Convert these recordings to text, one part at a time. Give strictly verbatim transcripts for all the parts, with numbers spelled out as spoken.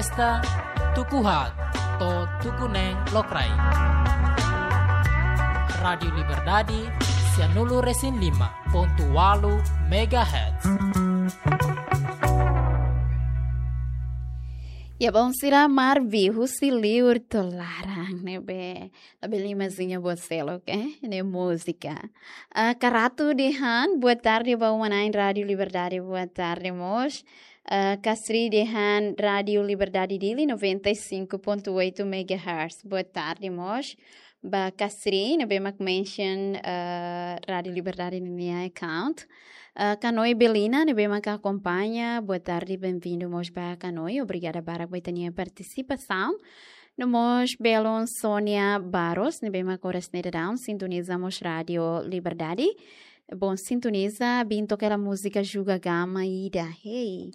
Esta tuku haat to'o tuku neen lokraik. Rádiu Liberdade, sianulu resin lima pontu walu megahertz. Ya, bom, sira Marvi, husi liur to'o laran, ne'ebé labele imajina buat seluk, eh, ne'e múzika. Ah, Karatu dehan, boa tarde ba uma-na'in Rádiu Liberdade, boa tarde mós. Ah, Kasri dehan, Rádiu Liberdade Dili, noventa e cinco ponto oito megahertz, boa tarde mós. Ba Kasri, ne'ebé mak mention, ah, Rádiu Liberdade ninia account. Ah, Kanoi Belina, ne'ebé mak akompaña, boa tarde, bem-vindo mós ba Kanoi, obrigada barak ba ita-nia partisipasaun. No mós belun Sónia Barros, ne'ebé mak oras ne'e daudaun sintoniza mós Rádiu Liberdade. Bom, sintoniza, bin toka hela múzika Juga Gama ida. Hey,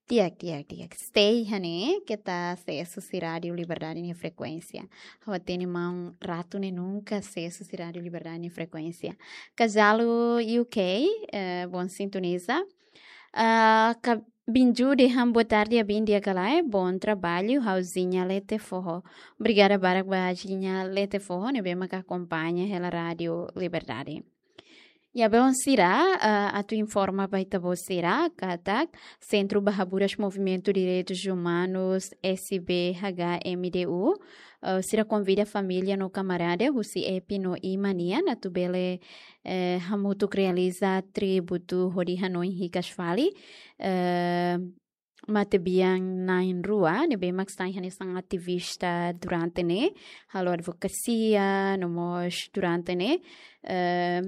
di'ak, di'ak, di'ak. Stay iha ne'e, keta sees husi Rádiu Liberdade nia frekuénsia. Ha'u hatene maun Ratu ne'e nunka sees husi Rádiu Liberdade nia frekuénsia. Kajalo U K, eh, bom, sintoniza. Ah, ka-, Binju dehan boa tarde, abin di'ak ka lae, bom trabalho, ha'u Zinha Lete Foho. Obrigada barak ba Zinha Lete Foho, ne'ebé mak akompaña hela Rádiu Liberdade. Ya, bom, sira, ah, atu informa ba ita-boot sira, katak Sentru ba Haburas Movimentu Direitus Umanus, S B H M D U, eh, sira konvida família no kamarada husi Epi no Ima nian atu bele, eh, hamutuk realiza tributu hodi hanoin hikas fali, eh, matebian na'in-rua, ne'ebé mak sai hanesan ativista durante ne'e, halo advokasia, no mós durante ne'e, eh,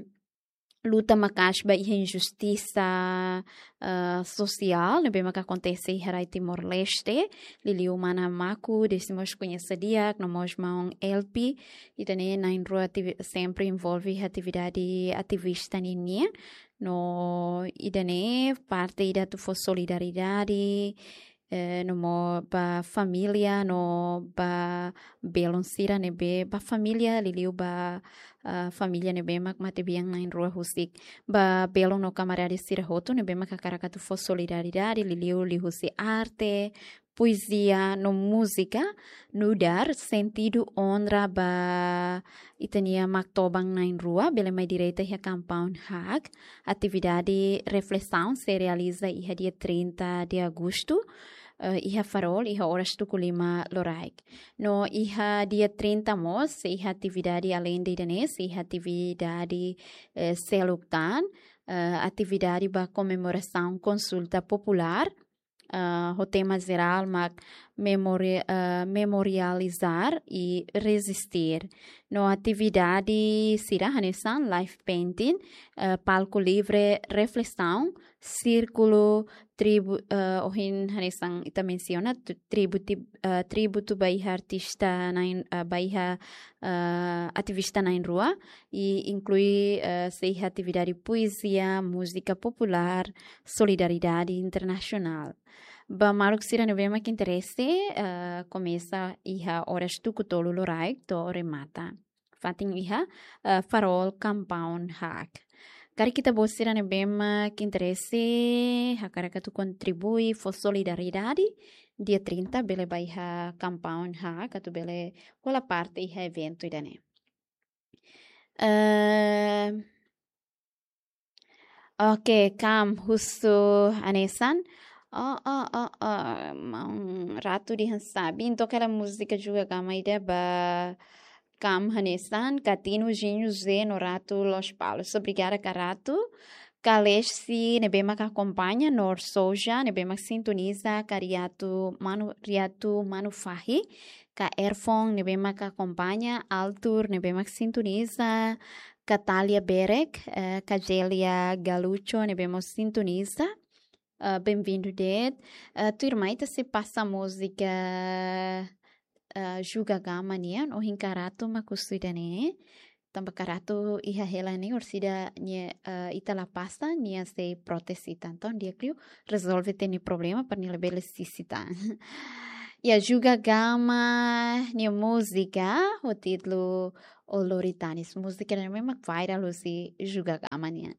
luta maka'as ba iha injustisa, eh, sosiál, ne'ebé mak akontese iha rai Timor-Leste, liuliu mana Maku, Décimos koñese di'ak, no mós maun Elpi, ida-ne'e na'in-rua ativi-, sempre envolve iha atividade ativista ninian, no ida-ne'e parte ida atu fó solidariedade, eh, no mós ba família, no ba belun sira ne'ebé, ba família, liuliu ba, ah, família ne'ebé mak matebian na'in-rua husik. Ba belun no kamarada sira hotu ne'ebé mak hakarak atu fó solidariedade, liuliu liuhusi arte, poezia, no múzika, nu'udar sentidu onra ba ita-nia Maktoban na'in-rua, bele mai direta iha compound haak, atividade reflesaun sei realiza iha dia trinta de agosto, eh, iha Farol, iha oras tuku lima loraik. No iha dia trinta mós, iha atividade além de ida-ne'e, iha atividade, eh, seluk tan, eh, atividade ba komemorasaun konsulta populár, ah, ho tema jerál mak memori-, ah, memorializar e resistir. No atividade sira hanesan live painting, ah, palku livre reflesaun, sírkulu tribu-, ah, ohin hanesan ita mensiona tu-, tributi-, ah, tributu ba iha artista na'in, ah, ba iha, ah, ativista na'in-rua, i inklui, ah, sei iha atividade poezia, múzika populár, solidariedade internasionál. Ba maluk sira ne'ebé mak interese, eh, komesa iha oras tuku tolu loraik to'o remata. Fatin iha, eh, Farol compound haak. Karik ita-boot sira ne'ebé mak interese, hakarak atu kontribui, fó solidariedade, dia trinta bele ba iha compound haak, atu bele hola parte iha eventu ida-ne'e. Eh, Oke, Kam husu hanesan. Oh, oh, oh, oh, maun Ratu dehan sabi. Entaun, hela múzika Juga Gama ida ba Kam hanesan, Katinu, Jinho, Zé no Ratu Lospalos. Obrigada, Karatu. Kalesi, ne'ebé mak akompaña, Nor Souza, ne'ebé mak sintoniza, Kariatu Manu, Riatu Manu Fahi, Ka Erfon, ne'ebé mak akompaña, Altur, ne'ebé mak sintoniza, Katalia Berek, eh, Kajelia Galucho, ne'ebé mós sintoniza. Eh, bem-vindo de'it. Eh, tuirmai ita sei pasa múzika, eh, Juga Gama nian, ohin Karatu mak husu ida-ne'e. Tanba Karatu iha hela ne'e, orsida nia, eh, ita la pasa, nia sei protes ita. Entaun, di'ak liu, rezolve ita-nia problema, para nia labele sisi tan. Ya, Juga Gama nia múzika, ho títulu O Lori Tanis. Múzika ne'e memang viral husi Juga Gama nian.